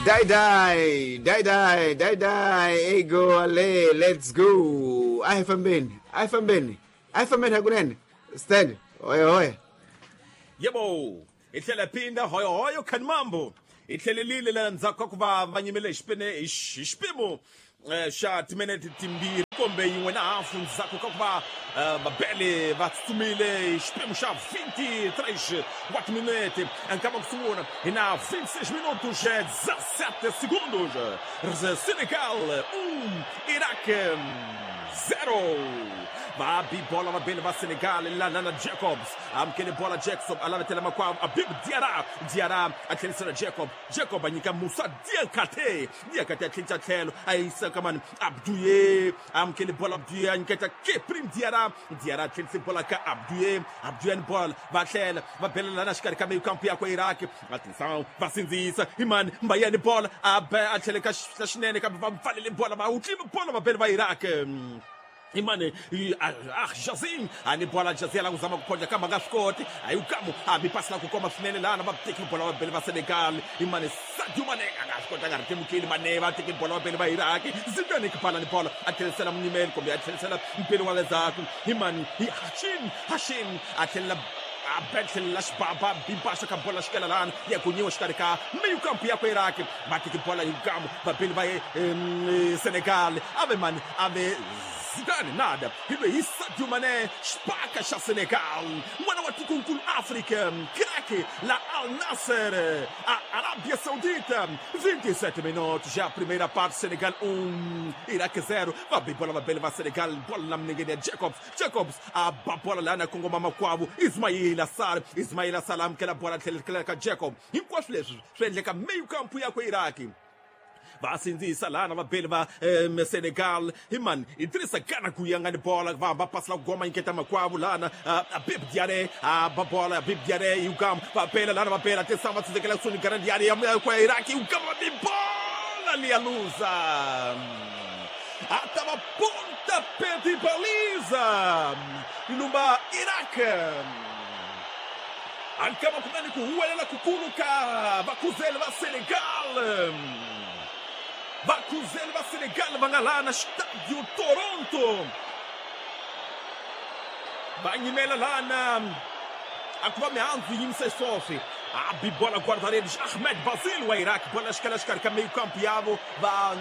Die die die die die die ego ale let's go. A hi fambeni, a hi fambeni, a hi fambeni hakunene. Stand oye oye. Yebo, hi tlhela phinda hoyohoyo khanimambo. Hi tlhelelile la ndzhaku ka ku va va nyimele hi xipene hi xipimo xa timinete timbirhi kumbe yin'we na hafu ndzhaku ka ku va vabele va tsutsumile hi xipimo xa 23 wa timinete. Nkama ku sungula hi na 26 minutos 17 segundos. Senegal 1, Iraq 0. Va bi bola vabeli va Senegal lana na Jacobs. Amukele bola Jacob a lavetela makwavo Abib Diarra. Diarra a tlherisela Jacob. Jacob a nyika Musa Diakate. Diakate a tlhenisa tlhelo a yisa ka mani Abdouye. Amukele bola Abdouye a nyiketa Keprim Diarra. Diarra a tlhenise bola ka Abdouye. Abdouye ni bola va tlhela va belela na xikarhi ka meyikampu yakwe Iraq. Atenção, va sindzisa imani Mbaye ni bola a ba a tlhele ka xinene kambe va pfalele bola va wutlimi bola va bele va Iraq. Imane Jazim ani bola Jazim la kuzama kuphonja kamba nga swi koti ayukamu abi pasi la ku koma swinene lana va teki bola va bele va Senegal. Imane Sadio Mane a nga swi kota nga ri temukeli Mane va teki bola va bele va Iraq. Zidane Kipala ni bola a tlherisela munyimeli kumbe a tlherisela mpeli wa le ndzhaku imani hi Hashim. Hashim a tlhelela a betlhela xibaba bimpaxa ka bola xikela lana ya kunyiwa xikarhi ka meyikampu ya ku Iraq. Va teki bola yukamu va bele va Senegal ave mani ave Zidane nada. Hi Sadio Mané, xipaka xa Senegal. N'wana wa tikonkulu Afrika, craque la Al Nassr, a Arábia Saudita. 27 minutos, já a primeira parte, Senegal 1, Iraque 0. Va bem bola, va bem, va Senegal, bola na mnengene Jacobs. Jacobs, a bola lá na Congo mamakwavo, Ismail Assar, Ismail Assar amukela bola tlhela ka Jacob. Hinkwaswo leswi swi endleka meio campo ya ku Iraq. Va sindzisa lana vabeli va Senegal. Imani Idrissa Gana Gueye nga ni bola va hamba pasi la ku goma nyiketa makwavo lana Abib Diarra a ba bola Abib Diarra yukam va bela lana va bela atenção va tsindzekela kusuhi ni Gana Diarra ya kwa Iraq yukam va bi bola liya luza. A tava pontapé de baliza lumba Iraq. Ankama kunani ku huwelela kukulu ka vakuzeli va Senegal. Vakuzeli va Senegal va nga laha na Estádio Toronto. Va nyimela lana a ku va mihandzu yi yimise swoswi. A bi bola guarda-redes Ahmed Basil wa Iraq. Bola xikela xikarhi ka meio campo yavo va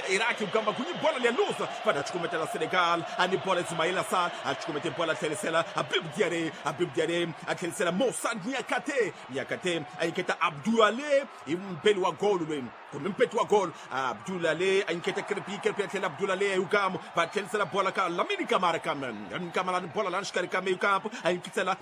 Iraq kamba kunyi bola liya luza va ta cukumetela Senegal. A ni bola Ismail Assar a cukumete bola tlherisela Habib Diarra. Habib Diarra a tlherisela Moussa Niakate. Niakate a nyiketa Abdoulaye hi mpeli wa golo loyi kumbe mpeti wa golo Abdoulaye a nyiketa Krepi. Krepi a tlhela Abdoulaye yukamu va tlherisela bola ka Lamine Camara. Lamine Camara ni bola lana xikarhi ka meio campo a nyikisela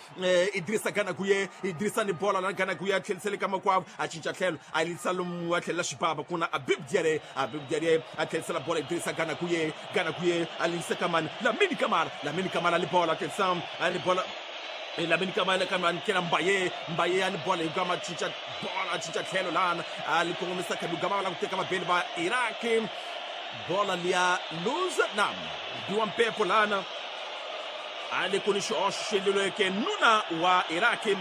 Idrissa Gana Gueye. Idrissa ni bola lana Gana Gueye a tlherisele ka makwavo a cinca tlhelo a yisa lomu a tlhelela xibaba kuna Habib Diarra. Habib Diarra a tlherisela bola Idrissa Gana Gueye. Gana Gueye a yisa ka mani Lamine Camara. Lamine Camara li bola atenção a li bola Lamine Camara kama nkela Mbaye. Mbaye ani bola yugama cinca bola cinca tlhelo lana a li kongomisa ka yugama la ku teka mabeli va Iraq. Bola liya luza na biwa mpepo lana ali kuni xihoxo xi endliweke nuna wa Iraq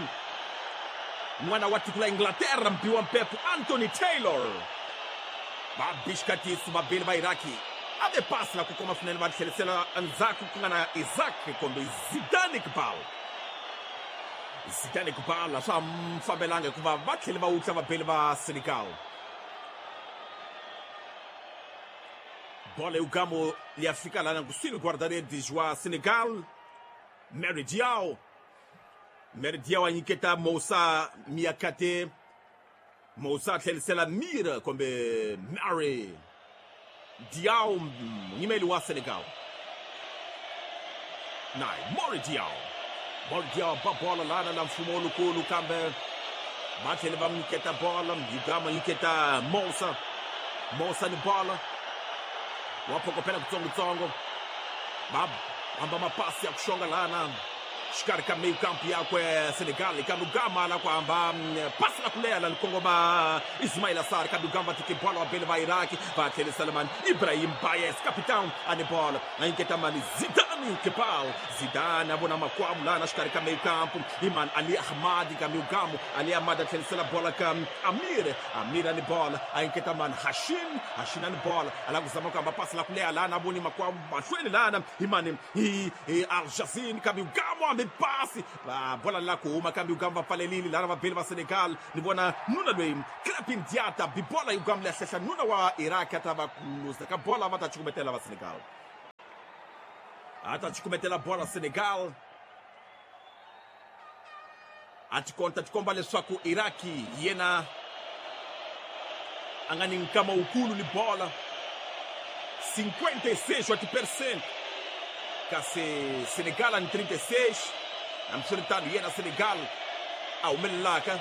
n'wana wa tiko la Inglaterra mbiwa mpepo Anthony Taylor. Va bixikatiso vabeli va Iraki a ve pasi la ku koma swinene va tlherisela endzhaku ku nga na Isaac kumbe Zidane Iqbal. Zidane Iqbal a swa fambelanga hikuva va tlhele va wutla vabeli va Senegal. Bola yugamo ya fika lana kusuhi guarda-redes wa Senegal Mary Diaw. Mary Diaw a nyiketa Moussa Niakate. Moussa tlherisela Mira kumbe Mary Diaw munyimeli wa Senegal. Nai Mori Diaw. Mori Diaw ba bola lana na mfumo lukulu kambe va tlhele va nyiketa bola yugama nyiketa Moussa. Moussa ni bola wa phokopela kutsongotsongo va hamba mapasi ya ku xonga lana xikarhi ka meio campo yakwe Senegal kambe ugama la ku hamba pasi la ku leha la likongoma Ismail Assar kambe ugama va teke bola va bele va Iraq va tlherisela mani Ibrahim Bayes capitão ani bola a nyiketa mani Zidane. Zidane Kebal. Zidane a vona makwavo lana xikarhi ka meio campo. Iman Ali Ahmad ka meio campo. Ali Ahmad a tlherisela bola ka Amir. Amir ani bola a enketa man Hashin. Hashin ani bola a lava ku zama ku hamba pasi la ku leha lana a voni makwavo mahlweni lana. Imani hi Al Jazin ka meio campo hambi pasi. Bola la ku huma ka meio campo va pfalelile lana vabeli va Senegal. Ni vona nuna loyi Krepin Diata bi bola yugamle ya hlehla nuna wa Iraq ata va luza ka bola va ta cukumetela va Senegal. Ata cukumetela bola Senegal. A ti komba leswaku Iraki yena a nga ni nkama wukulu ni bola 56 wa ti-percent kasi Senegal a ni 36. Hambiswiritano yena Senegal a humelelaka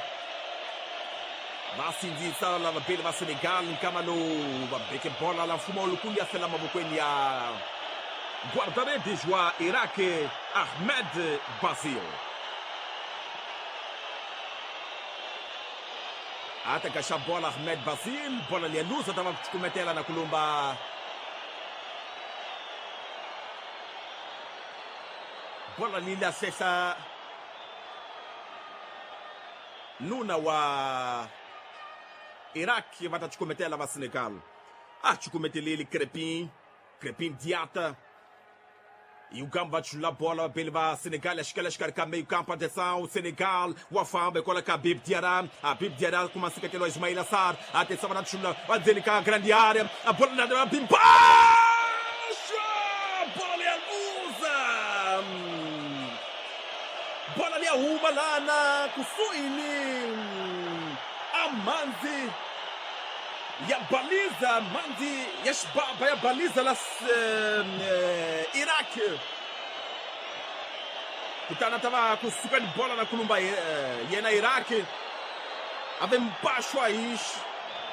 va sindzisa lava vabeli va Senegal nkama lowu va beke bola la mfumo lukulu ya fela mavokweni ya guarda-redes wa Iraq Ahmed Bazil. A ta gaxa bola Ahmed Bazil, bola liya luza ta va cukumetela na kulumba bola lila hlehla nuna wa Iraq va ta cukumetela va Senegal. A cukumeteleli Krepin, Krepin Diata. E o Gamba va chula bola vabeli va Senegal ya xikela xikarhi ka meio campo. Atenção, Senegal wa famba hikwalaho ka Habib Diarra. Habib Diarra kuma nseketelo wa Ismail Assar. Atenção, va na chula va ndzeni ka grande área. A bola na Bimbaxa! Bola leya luza! Bola leya huma lana kusuhi ni amanzi ya baliza, manzi ya xibaba ya baliza la Iraq. Kutani a ta va kusuka ni bola na kulumba yena Iraq. A ve mpaxwa hi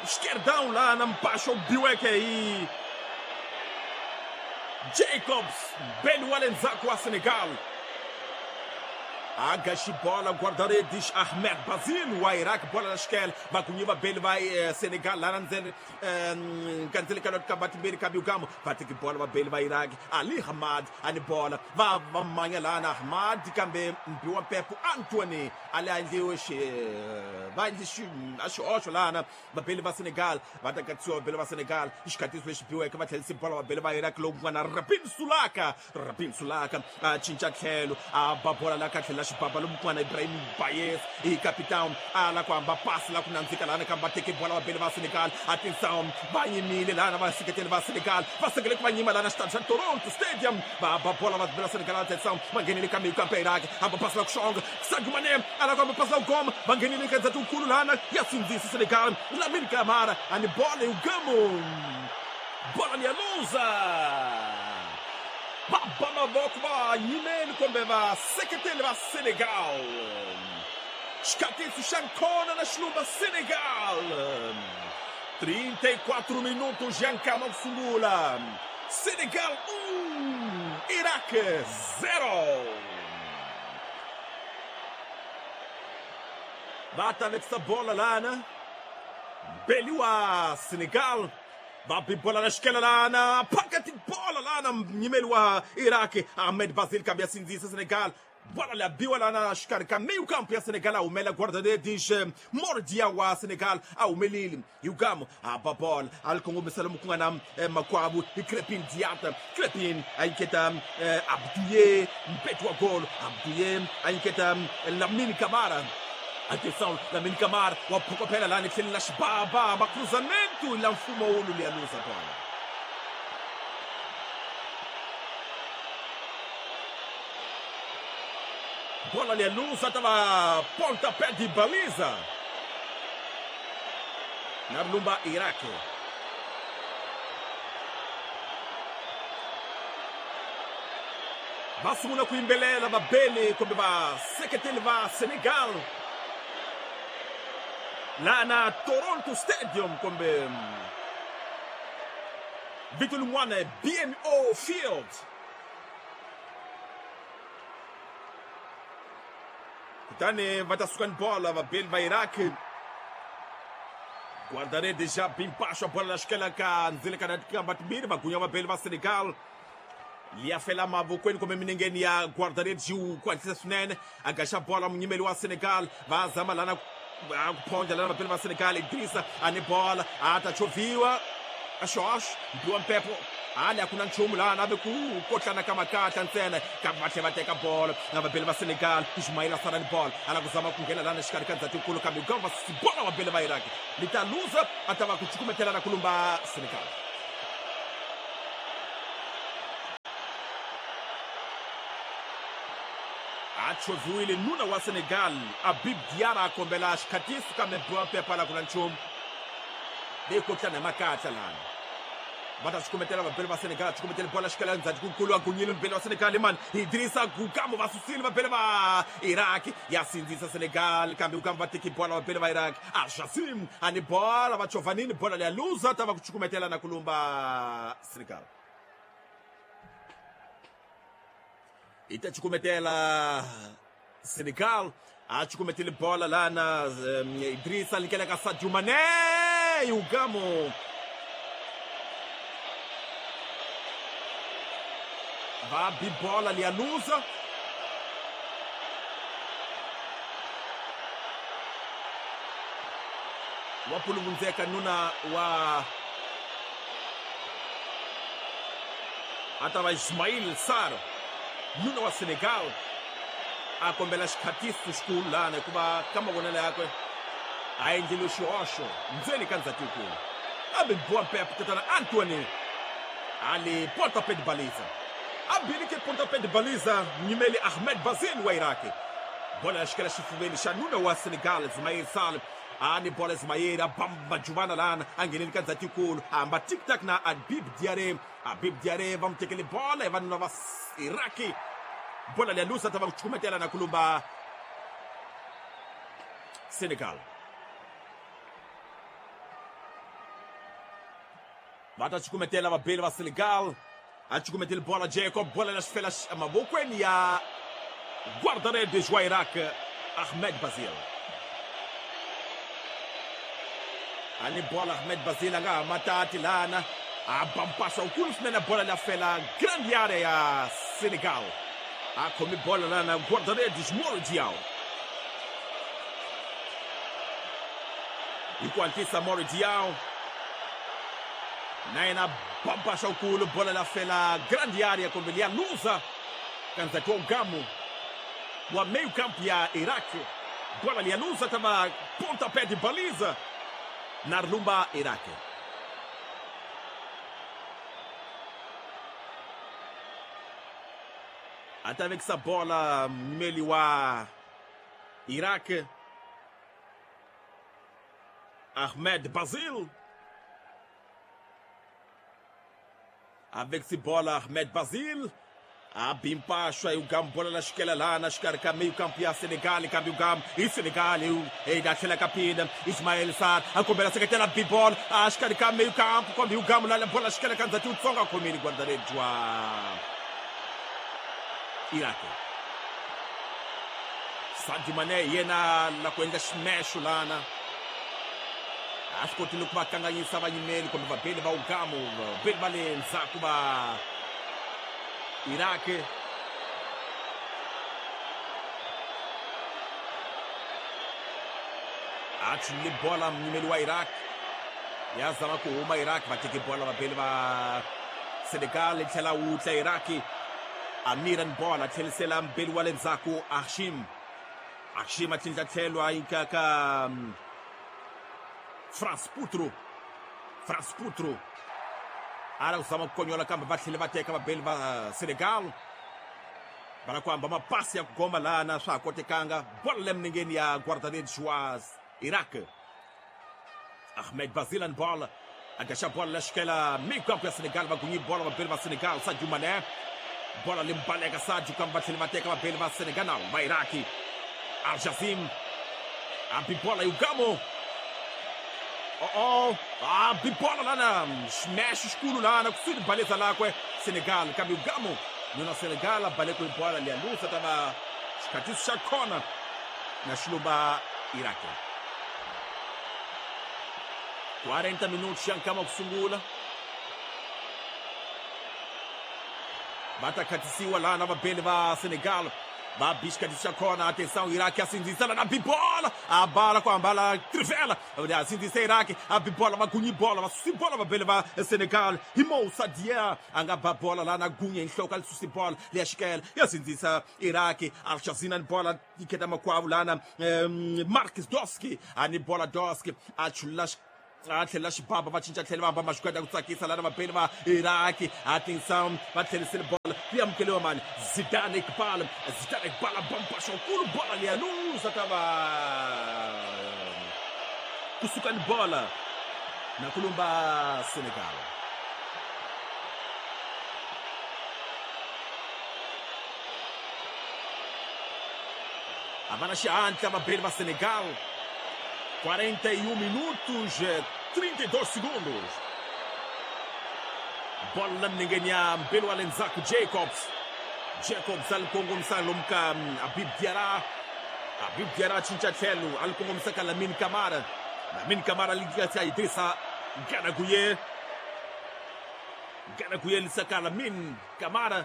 esquerdão lá na mpaxwa wu biweke hi Jacobs beli wa le ndzhaku wa Senegal. Agaxi bola guarda-redes Ahmed Bazil wa Iraq, bola na xikele vagunyi vabeli va Senegal lana ndzeni kandzele ka ka vatimbirhi ka biukamo va teki bola vabeli va Iraq. Ali Hamad ani bola va va manya lana Ahmad kambe mbi wa mpepo Anthony ali a endliwe xi va endli a xihoxo lana vabeli va Senegal va ta katsiwa vabeli va Senegal xikhatiso lexi biweke va tlhelisi bola vabeli va Iraq lowu nga na Rabin Sulaka. Rabin Sulaka a cinca tlhelo a ba bola la ka tlhela xibaba lomu Ibrahim Bayes i capitão a la ku hamba pasi la ku nandzika lana kambe va teke bola vabeli va Senegal. Atenção, va yimile lana vaseketeli va Senegal va sengele ku va nyima lana xitandi xa Toronto Stadium va ba bola vabeli va Senegal. Atenção, va nghenile ka meio campo ya Iraq hamba pasi la ku xonga Sadio Mané a la ku hamba pasi la ku goma va nghenile ka ndzati wukulu lana ya sindzisa Senegal. Lamine Camara ani bola yugamo bola ni ya luza va ba mavoko va yimeli kumbe va seketeli va Senegal. Xikhatiso xa nkona na xilumba Senegal. 34 minutos ya nkama ku sungula. Senegal 1, Iraq 0. Va ta vekisa bola lana beli wa Senegal va bi bola na xikela lana phakati bola lana nyimeli wa Iraq Ahmed Bazil kambe ya sindzisa Senegal. Bola la biwa lana xikarhi ka meio campo ya Senegal a humela guarda-redes Mordia wa Senegal a humelile Yugamo a ba bola a li kongomisa lomu ku nga na makwavo hi Krepin Diata. Krepin a nyiketa Abdouye mpeti wa golo. Abdouye a nyiketa Lamine Camara. Atenção, Lamine Camara wa phokopela lana etlheleni la xibaba va cruzamento la mfumo wulu liya luza bola. Bola liya luza ta va pontapé de baliza na lumba Iraq. Va sungula ku yimbelela vabeli kumbe vaseketeli va Senegal lana Toronto Stadium kumbe vito lin'wana BMO Field. Kutani va ta suka ni bola vabeli va Iraq. Guarda-redes já bimpaxo a bola na xikela ka ndzilekana tikamba timbirhi vagunya vabeli va Senegal. Liya fela mavokweni kumbe minengeni ya guarda-redes ku hatlisa swinene a gaxa bola munyimeli wa Senegal va zama lana ku phondla lana vapeli va Senegal Idrissa a ni bola a ta chovhiwa a xoxo mbiwa mpepo ali a ku na nchumu lana ve ku kotlana ka makatla ntsena kambe va tlhela va teka bolo na vabeli va Senegal Ismail a sala ni bolo a lava ku zama ku nghena lana xikarhi ka ndzhatikulu kambe ku va bola vabeli va Iraq li ta luza a ta va ku cukumetelana ku lumba Senegal. A chovhiwile nuna wa Senegal Habib Diarra a kombela xikhatiso kambe biwa mpepo a la ku na nchumu leyi kotlana hi makatla lana va ta cukumetela vabeli va Senegal cukumetele bola xikala ndzhaku a gunyile mubeli wa Senegal mani Idrissa Gukamo va susile vabeli va Iraq ya sindzisa Senegal kambe Gukamo va teki bola vabeli va Iraq Al-Jasim a ni bola va chovanini bola leya luza ta va ku cukumetela na ku lumba Senegal. I ta cukumetela Senegal a cukumetele bola lana Idrissa likela ka Sadio Mané Ugamo va bibola ali a luza. Wa puluvunzeka nuna wa atava Ismail Sarr nuna wa Senegal a kombela xikhatiso xikulu lana hikuva ka mavonelo yakwe a endlile xihoxo ndzeni ka ndzhatikulu kambe biwa mpepo tatana Anthony ali pontapé de baliza abilike pontapé de baliza munyimeli Ahmed Bazil wa Iraq bola ya xikela xifuveni xa nuna wa Senegal Ismail Sarr a ni bola Ismail a bamba juvana lana a ngheneli ka ndzhatikulu a hamba tic-tac na Habib Diarra. Habib Diarra va n'wi tekele bola hi vanuna va Iraq bola leya lusa ta va ku cukumetela na ku lumba Senegal. Va ta cukumetela vabeli va Senegal a cukumetele bola Jacob bola la xifela mavokweni ya guarda-redes wa Iraq Ahmed Bazil. A ni bola Ahmed Bazil a nga ha matati lana a bampasa wukulu swinene bola la fela grande área ya Senegal a khomi bola lana guarda-redes Moro Diaw hi ku hatlisa Moro Diaw na yena bampasa wukulu bola la fela grande área kumbe liya luza ka ndzhati wa Ugamo wa meio campo ya Iraq bola liya luza ta va pontapé de baliza na lumba Iraq. Até avec sa bola meli wa Iraq Ahmed Bazil avec sa bola Ahmed Bazil a bimpacho aí o Gam bola na esquela lá na escarca meio campo ya Senegal cambio Gam e Senegal e da aquela capina Ismail Sarr a combinação que tem na bibol a escarca meio campo com o Gam lá na bola esquela canta tudo songa comigo guarda-redes wa Iraq. Sadio Mané yena la ku endla ximexo lana a swi kotile ku va kanganyisa vanyimeli kumbe vabeli va Ugamo vabeli va le ndzhaku va Iraq. A chulile bola munyimeli wa Iraq ya zama ku huma Iraq va teke bola vabeli va Senegal tlhela wutla Iraq Amiran bola tlhelisela mbeli wa le ndzhaku Hashim. Hashim a tlhindla tlhelo a yika ka France Putro. France Putro a lava ku zama ku konyola kambe va tlhele va teka vabeli va Senegal va lava ku hamba mapasi ya ku goma lana swa ha kotekanga bola le minengeni ya guarda-redes wa Iraq Ahmed Bazil an bola a gaxa bola la xikela meio campo ya Senegal va gunyi bola vabeli va Senegal Sadio Mané bola limbaleka Sadio kambe va tlhele va teka vabeli va Senegal na va Iraq Al-Jazim a bibola e o Gamo a bibola lana smash escuro lana kusudi baleza lakwe Senegal kambe o Gamo nuna Senegal a baleko ibola lialusa tava xikhatiso xa khona na xilumba Iraq 40 minutos xa nkama ku sungula Va ta khatisiwa lana vabeli va Senegal. Va bixikatisa kona, atenção, Iraque a sindzisa na bibola, a bala com a bala trivela, a sindzisa Iraque, a bibola, va gunyi bola, va susi bola vabeli va Senegal, hi Moussa Dia, a nga ba bola la na gunya enhloko a susi bola, leya xikela, ya sindzisa Iraque, a xazina ni bola, yi kheta makwavo lana, Marcus Doski, a ni bola Doski, a chula a tlhela xibaba va cinca tlhela va hamba maxikweta ku tsakisa lana vabeli va Iraki. Atenção, va tlherisele bola yi amukeliwa mani Zidane Iqbal, Zidane Iqbal a bamba xokulu bola liya luza ta va kusuka ni bola na kulumba Senegal. A va na xihatla vabeli va Senegal. 41 minutos 32 segundos. Bola milengeni ya mbele wa lenzaku Jacobs. Jacobs alikongomisa lomka Habib Diarra. Habib Diarra cinca tlhelo alikongomisa ka Lamine Camara. Lamine Camara alikatsa Idrissa Gana Gueye. Gana Gueye lisaka Lamine Camara.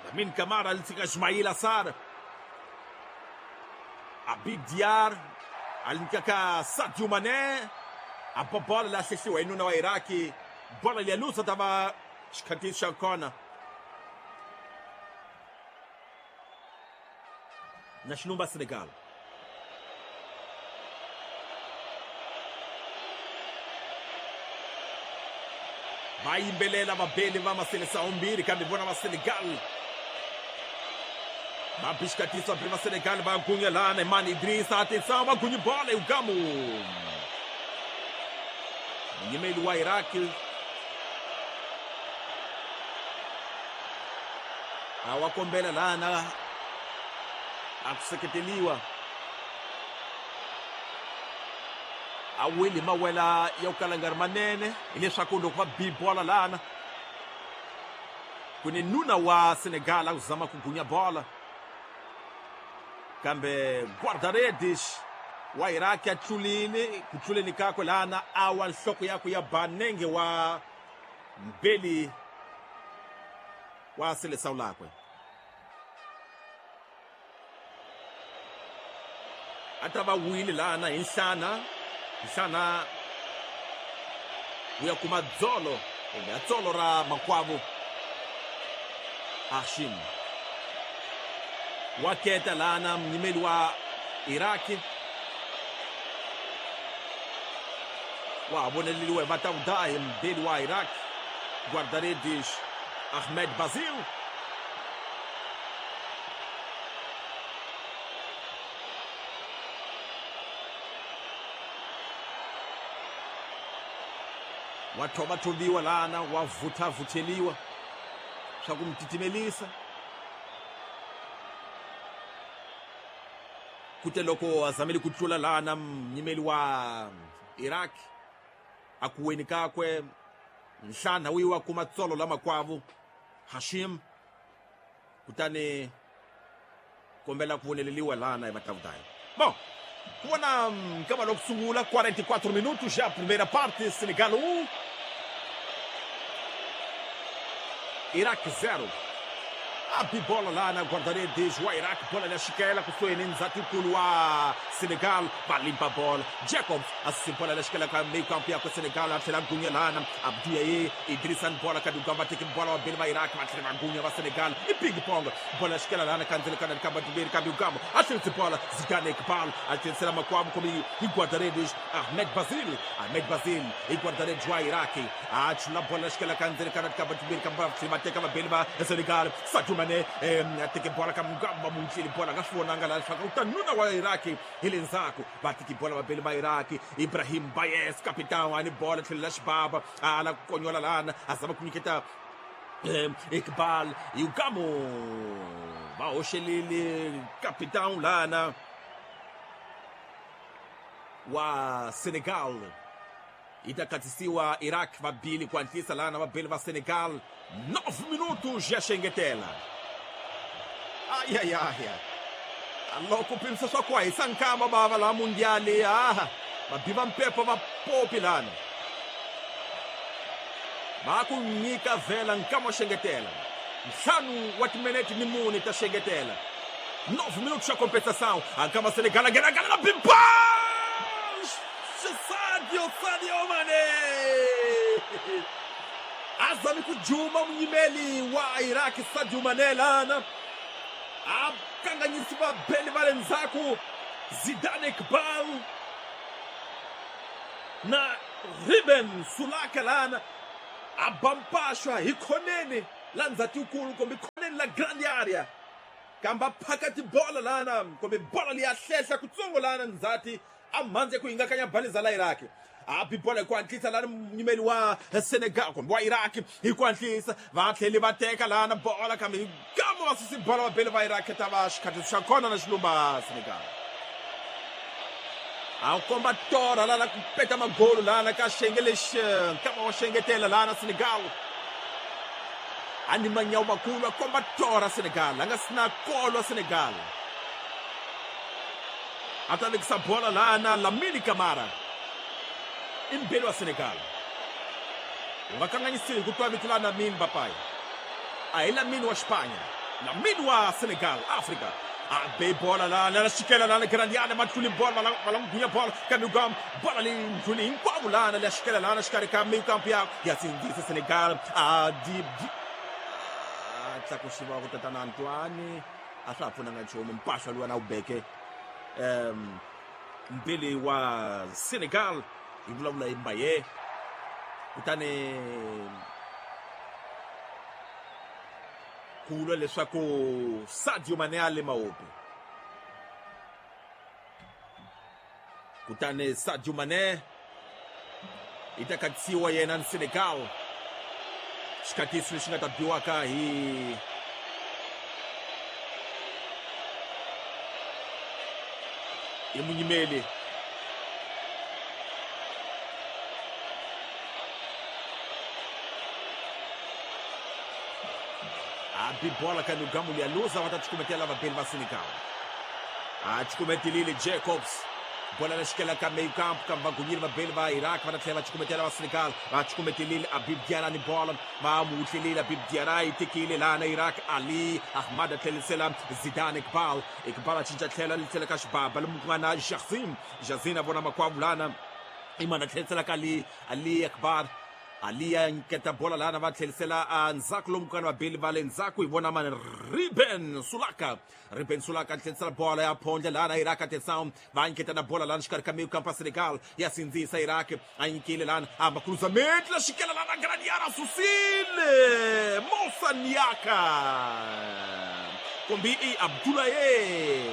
Lamine Camara alisika Ismail Assar. Habib Diarra alinkaka Sadio Mané. A bola la hlehliwa inuna wa Iraki. Bola liyalusa tava xikhatisi xa kona. Na xilumba Senegal. Va yimbelela vabeli va maseleção mbirhi kambe vona va Senegal. Va bixikatisa va Senegal va gunya lana Mani Idrissa, atenção, va gunya bola e o Gamo. Munyimeli wa Iraki a wa kombela lana a ku seketeliwa. A weli mawela ya ku kala nga ri manene hileswaku loko va bi bola lana ku ni nuna wa Senegal a ku zama ku gunya bola kambe guarda-redes wa Iraki a tlulile ku tluleni kakwe lana a wa nhloko yakwe ya ba nenge wa mbeli wa seleção lakwe. A ta va wile lana hi nhlana, nhlana wu ya kuma dzolo kumbe dzolo ra makwavo Hashim. Wa keta lana munyimeli wa Iraki wa voneleliwa hi vatawudahi mbeli wa Iraq guarda-redes Ahmed Bazil. Wa thovathoviwa lana wa vuthavutheliwa swa ku mi titimelisa. Kute loko a zamele ku tlula lana munyimeli wa Iraq a ku weni kakwe nhlana wu yiwa kuma tsolo la makwavo Hashim kutani kombela ku voneleliwa lana hi vatawudayi. Bom, ku vona nkama loku sungula 44 minutos já primeira parte, Senegal 1 Iraq 0. A bola lá na guarda-redes wa Iraq, bola na xikela kusuhi ni ndzhatikulu wa Senegal, va limpa bola. Jacobs a bola na xikela ka meio campo ya Senegal, a tlhela gunya lana Abdiaye Idrissa bola ka dugamba teki bola wa beli va Iraq, va tlhela gunya va Senegal i ping pong bola xikela lana kandzele kana kamba tiberi kambe ugamba a tlhela bola Zidane Iqbal a tlhela makwavo komi i guarda-redes Ahmed Bazil, Ahmed Bazil i guarda-redes wa Iraq a tlhela bola xikela kandzele kana kamba tiberi kamba tlhela teka va beli va Senegal. Sadio Mané a teke bola ka mugamba muntleli bola nga swi vonanga laha leswaku u ta nuna wa Iraki hi le ndzhaku va teki bola va beli va Iraki. Ibrahim Bayes capitão a ni bola tlhela xibaba a la ku konyola lana a zama ku nyiketa Iqbal Yugamo va hoxelile capitão lana wa Senegal. Yi ta khatisiwa Iraq va bili ku hatlisa lana va beli va Senegal. 9 minutos ya xengetela. Ai ai ai. Loko pimisa swa ku hisa nkama bava la mundiali ah va biva mpepo va popi lana. Va ku nyika vhela nkama xengetela. Ntlhanu wa timinete ni mune ta xengetela. 9 minutos xa compensação. A kama Senegal a ngena na Bimba! Sadio Mané! Azami kujuma munyimeli wa Iraq Sadio Mané lana. A kanganyisi vabeli va le ndzhaku Zidane Iqbal na Ruben Sulaka lana a bampashwa hi khoneni la ndzhatikulu kumbe khoneni la grande area kamba phakati bola lana kumbe bola liya hlehla kutsongo lana ndzhati a mhandzi ku hingakanya baliza la Iraq. A bi bola hi ku hatlisa lana munyimeli wa Senegal kumbe wa Iraq hi ku hatlisa va tlheli va teka lana bola kambe hi gamo va susi bola va beli va Iraq ta va xikhathi xa kona na xilumba Senegal. A komba tora lana ku peta magolo lana ka xenge lexi nkama wa xengetela lana Senegal. A ni manyawu makulu a komba tora Senegal a nga si na kolo Senegal. A ta vekisa bola lana Lamine Camara i mbeli wa Senegal. U nga kanganyisiwi ku twa vito la Lamine Mbappé. A hi Lamine wa Xipanya, Lamine wa Senegal, Africa. A be bola lana la xikela lana grandiana matluli bola va la gunya bola kambe gam bola leyi ndluli hinkwavo lana la xikela lana xikarhi ka meio campo ya sindzisa Senegal a di a tlakusiwa ku tatana Antoine a swa ha pfunanga nchumu mpahla luwa na wu beke mbili wa Senegal hi vulavula hi Mbaye kutani ku vula leswaku Sadio Mané a le mahopi kutani Sadio Mané i ta katsiwa yena ni Senegal xikatiso lexi nga ta biwaka hi munyimeli a bi bola ka Lugamu ya luza va ta cukumetela vabeli va Senegal. A cukumetelile Jacobs bola la xikela ka meio campo kambe va gunyile vabeli va Iraq va ta tlhela va cukumetela va Senegal. Va cukumetelile Habib Diarra ni bola va mu tlhelile Habib Diarra yi tekile lana Iraq Ali Ahmad a tlhelisela Zidane Iqbal. Iqbal a cinca tlhela li tlhela ka xibaba lomu ku nga na Jazim. Jazim a vona makwavo lana imana tlhelisela ka Ali Akbar. Ali a nyiketa bola lana va tlhelisela a ndzhaku lomu ku nga na vabeli va le ndzhaku hi vona mani Ruben Sulaka. Ruben Sulaka a tlhelisela bola ya phondla lana Iraq atenção va nyiketa na bola lana xikarhi ka meio campo a Senegal ya sindzisa Iraq a nyikile lana a cruzamento la xikela lana grande susile Moussa Niaka kumbe i Abdoulaye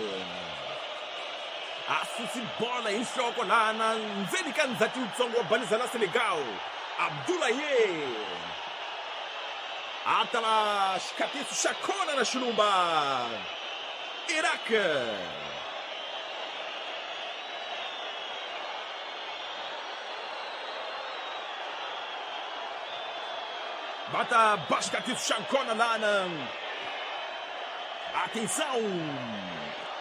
a susi bola hi nhloko lana ndzeni ka ndzhati wutsongo wa baliza la Senegal. Abdoulaye a ta va xikatiso xa kona na xilumba Iraq. Va ta ba xikatiso xa kona lana. Atenção!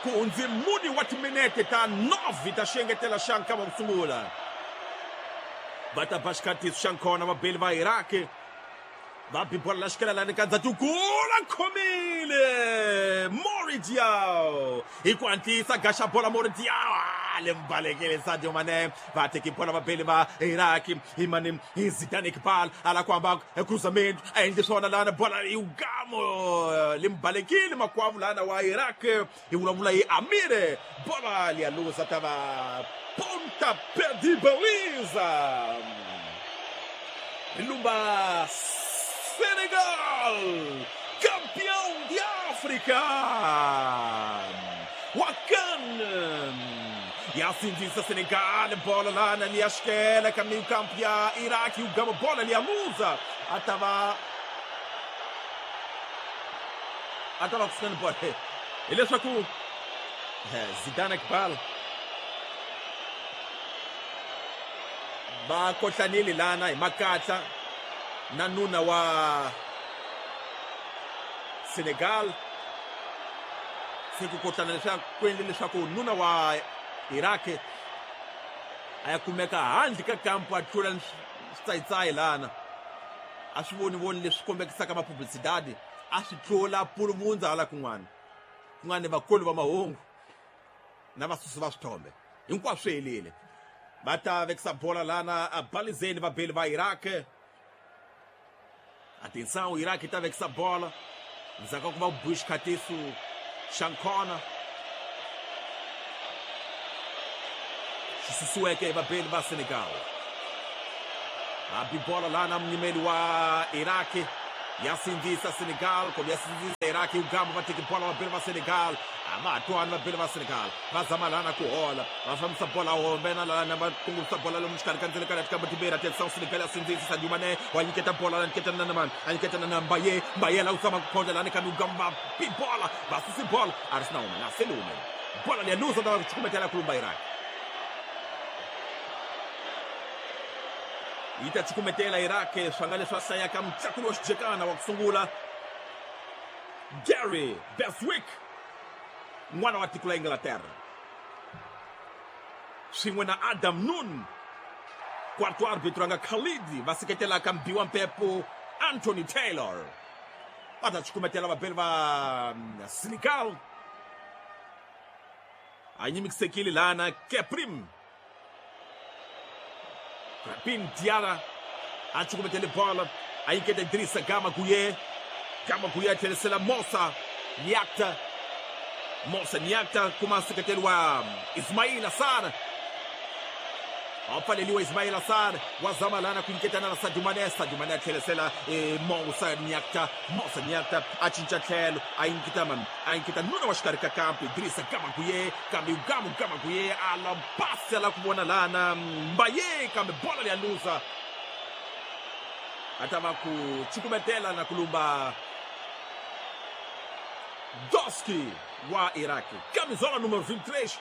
Ku hundze mune wa timinete ta 9 ta xengetela xa nkama ku sungula. Va ta ba xikatiso xa nkona vabeli va Iraq va bi bola la xikela lani ka ndzhatikulu khomile Mori Diaw hi ku hatlisa gaxa bola Mori Diaw le mbalekele Sadio Mané va teki bola vabeli va Iraq hi mani hi Zidane Iqbal ala ku hamba cruzamento a endli swona lana bola yi gamo le mbalekile makwavo lana wa Iraq hi vulavula hi Amire bola liya luza ta va ponta perdi baliza Lumba Senegal, campeão de África! Wakan! E assim diz a Senegal, bola lá na linha esquerda, caminho campeão, Iraque, o Gama, bola ali a Musa. Atava buscando bola. Ele é só com Zidane Iqbal. Va kohlanile lana hi makatla na nuna wa Senegal. Se ku kohlana leswaku ku endle leswaku nuna wa Iraq a ya kumeka handle ka kampo a tlula switsayitsayi lana a swi voni voni leswi kombekisaka mapublicidade A swi tlula puluvundza hala kun'wana. Kun'wana vakulu va mahungu na vasusi va swithombe. Hinkwaswo swi helile. Va ta vekisa bola lana a balizeni vabeli va Iraq. Atenção, Iraq yi ta vekisa bola. Ndzhaku ka ku va biwe xikhatiso xa nkhona. Xi susiweke hi vabeli va Senegal. A bi bola lana munyimeli wa Iraq. Ya sindzisa Senegal, kumbe ya sindzisa Iraq hi ugamba va teki bola vabeli va Senegal. A va ha twani vabeli va Senegal. Va zama lana ku hola. Va fambisa bola hombe na lana va kongomisa bola lomu xikarhi ka ndzele ka tika timbirhi. Atenção, Senegal ya sindzisa Sadio Mané wa nyiketa bola la nyiketa na mani. A nyiketa na Mbaye. Mbaye la usama ku phonda lana kambe ugamba bi bola. Va susi bola. A ri sina hume na sele hume. Bola liya luza ta va ku cukumetela kulumba Iraq. Yi ta cukumetela Iraq swanga leswi a hlayaka mutlakuli wa xijekana wa ku sungula Gary Beswick, n'wana wa tiko la Inglaterra, swin'we na Adam Noon, quarto árbitro a nga Khalid, va seketelaka mbiwa mpepo Anthony Taylor. Va ta cukumetela vabeli va Senegal. A nyimikisekile lana Keprim Krapin Diarra a cukumetele bola, a nyiketa Idrissa Gama Gueye. Gama Gueye a tlherisela Moussa Niakta. Moussa Niakta kuma nseketelo wa Ismaila Sarr. A pfaleliwa Ismaila Sarr, wa zama lana ku nyiketana na Sadio Mané. Sadio Mané a tlherisela Moussa Niakta. Moussa Niakta a cinca tlhelo, a nyiketa mani, a nyiketa nuna wa xikarhi ka kampi Idrissa Gama Gueye, kambe Gama Gueye a la pasi la ku vona lana Mbaye, kambe bola liya luza. A ta va ku cukumetela na ku lumba Doski wa Iraq. Camisola número 23.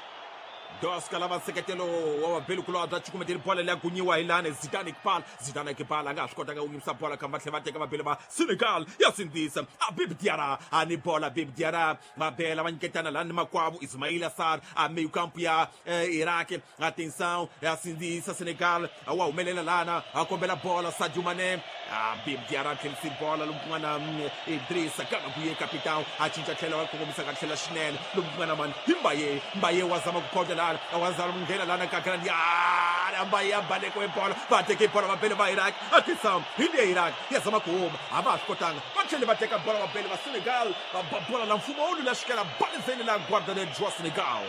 Doska lava nseketelo wa vabeli kulobye a cukumeteli bola leyi gunyiwa hi lani Zidane Iqbal. Zidane Iqbal a nga ha swi kotanga ku yimisa bola kambe va tlhela va teka vabeli va Senegal ya sindzisa. Habib Diarra a ni bola, Habib Diarra mabela va nyiketana lani makwavo Ismaila Sarr a meio campo ya Iraq. Atenção, ya sindzisa Senegal wa humelela lana a kombela bola Sadio Mané. Habib Diarra tlherisi bola lomu ku nga na Idrissa Gana Gueye capitão a cinca tlhelo va kongomisa ka tlhela xinene lomu ku nga na mani hi Mbaye. Mbaye wa zama ku phonda lana, wa zama ku nghena lana ka grande area. Mbaye a baleka hi bola, va teke bola vabeli va Iraq. Atenção, hi le Iraq ya zama ku huma, a va ha swi kotanga. Va tlhele va teka bola vabeli va Senegal, va ba bola la mfumo wu la xikela balizeni la guarda-rede wa Senegal.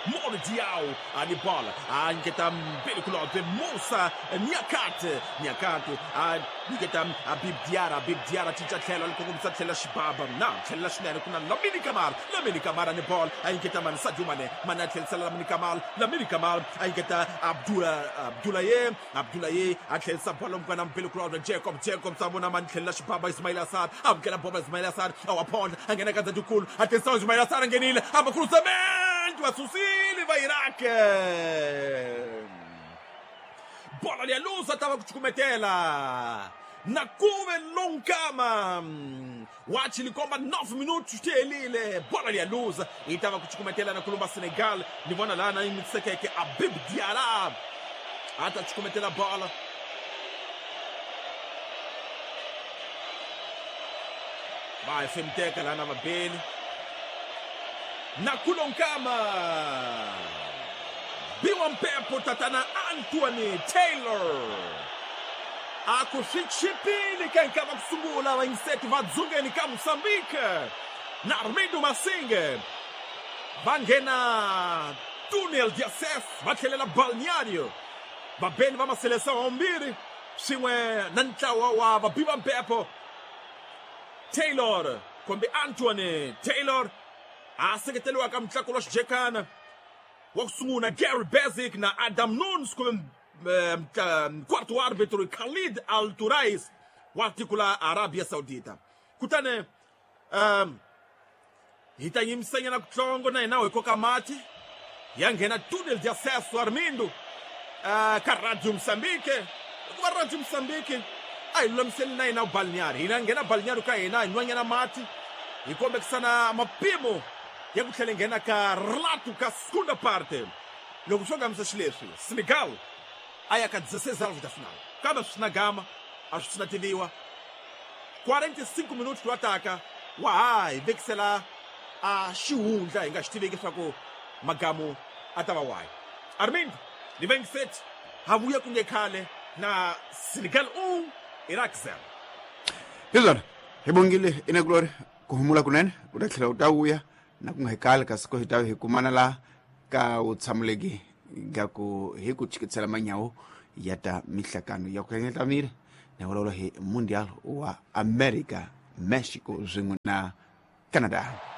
Moro Diaw a ni bola, a nyiketa mbili kulobye Moussa Niakate. Niakate a nyiketa Habib Diarra. Habib Diarra cinca tlhelo a kongomisa tlhela xibaba na tlhela xinene ku na Lamine Camara. Lamine Camara ni bola a nyiketa mani Sadio Mané. Mané a tlherisela Lamine Camara. Lamine Camara a nyiketa Abdoulaye. Abdoulaye a tlherisa bola mukwana mbili kulobye Jacob. Jacob sa vona mani tlhela xibaba Ismaila Sarr. Amukela bola Ismaila Sarr a wa phonda a nghena ka ndzhaku. Atenção, Ismaila Sarr a nghenile a va cruzamento va susile va Iraq. Bola liya luza ta va ku cukumetela na kuve lonkama wachi likomba 9 minutos ti helile. Bola liya luza yi ta va ku cukumetela na kulumba Senegal. Ni vona lana yi mitsekeke Habib Diarra a ta cukumetela bola. Va hefemuteka lana vabeli na kulonkama biwa mpepo tatana Anthony Taylor a ku swi chipile ka nkava ku sungula vayingiseti va dzungeni ka Mozambique na Armindo Masinge va nghena tunnel de acesso va tlhelela balneário. Vabeli va maseleção vambirhi swin'we na ntlawa wa vabiwa mpepo Taylor kumbe Anthony Taylor a seketeriwa ka mutlakulo wa xijekana wa ku sungula Gary Basic na Adam Nunes kumbe quarto árbitro Khalid Al Turais wa tiko la Arabia Saudita. Kutani hi ta yimisanyana kutsongo na hina hi koka mati ya nghena túnel de acesso Armindo ka Radio Moçambique. Hikuva Radio Moçambique a hi lulamiseli na hina balneário, hina nghena balneário ka hina hi nwanyana mati hi kombekisana mapimo ya ku tlhela nghena ka relato ka segunda parte. Loko swo ngamisa xileswi Senegal a ya ka 16 alvos da final, kambe swi na gama a swi na tiviwa. 45 minutos to ataka wa ha hi vekisela a xihundla hi nga xi tiveki leswaku magamu a ta va wahi. Armindo Livengiset ha vuya ku nge khale na Senegal 1, Iraq 0. Hi swona, hi bongile inakulori ku humula kunene, u ta tlhela u ta vuya na ku nga hi kali, kasi ko hi ta hi kumana la ka u tshamuleki ga ku hi ku chikitsela manyawo ya ta mihlakano ya ku hlengeleta miri na vulavula hi Mundial wa America, Mexico swin'we na Canada.